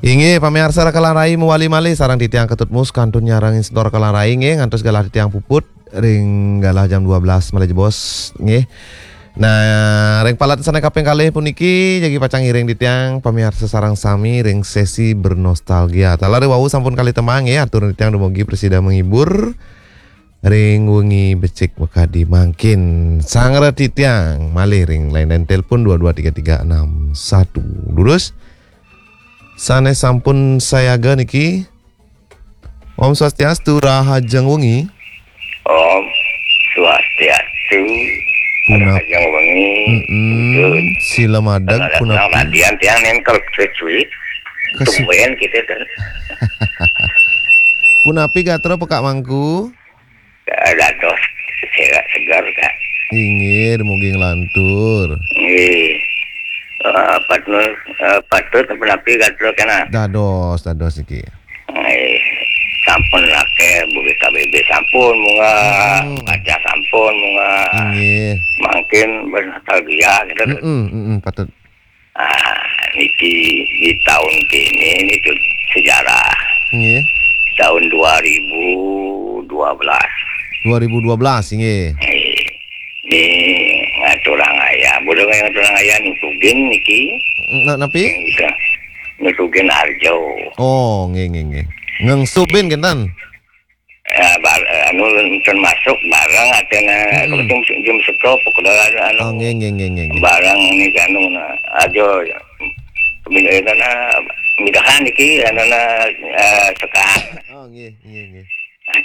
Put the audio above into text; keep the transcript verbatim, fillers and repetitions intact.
Inggih, pamiarsa Rakalan Rai mawali malih sareng titiang Ketut Mus kantun nyarengin semeton Rakalan Rai nggih, ngantos galah titiang puput ring galah jam dua belas malih jebos nggih. Nah, ring palet sane kaping kalih puniki jagi pacang ngiring titiang pamiarsa sareng sami ring sesi bernostalgia. Taler wau sampun kalih tembang nggih, atur titiang dumugi prasida menghibur ring wengi becik makadi mangkin. Sareng titiang malih ring line telepon dua dua tiga tiga enam satu. Durus sane sampun sayaga niki. Om Swastiastu, rahajeng wengi. Om Swastiastu, Punap- rahajeng wengi. Mm-mm. Betul. Sila madeg, punapi? Radian tiang nengkel cuit-cuit. Kesu- Tumben kita kan. Punapi gatra Pekak Mangku? Dados sehat segar, Kak. Inggih, dumugi nglantur. Inggih. Eh, patut, eh, patut punapi gatra kena? Dados, dados iki. Eh, sampun akeh, bugi K B B sampun munggah, Hmm. Kaca sampun munggah. Inggih. Mangkin bernostalgia kita. Mm-mm, mm-mm, patut. Ah, niki di tahun kini, ini tuh sejarah. Nggih. Tahun dua ribu dua belas. Dua ribu dua belas, nggih. Eh, ini ngaturang ayah. Bodoh ngaturang ayah nutugin niki. Na-, napi? Bisa. Nutugin Arjo. Oh, nggih, nggih, nggih. Ngengsubin kinten. Ya, bar-, anu, termasuk bareng atena, hmm, jam, jam seko, pokoknya anu, oh, nggih, nggih, nggih, nggih, nggih, bareng ini anu, nah, aja, ya. Min-, eh, karena mudahan iki, anu, nah, eh, sekat. Oh, nggih, nggih, nggih. Nah, di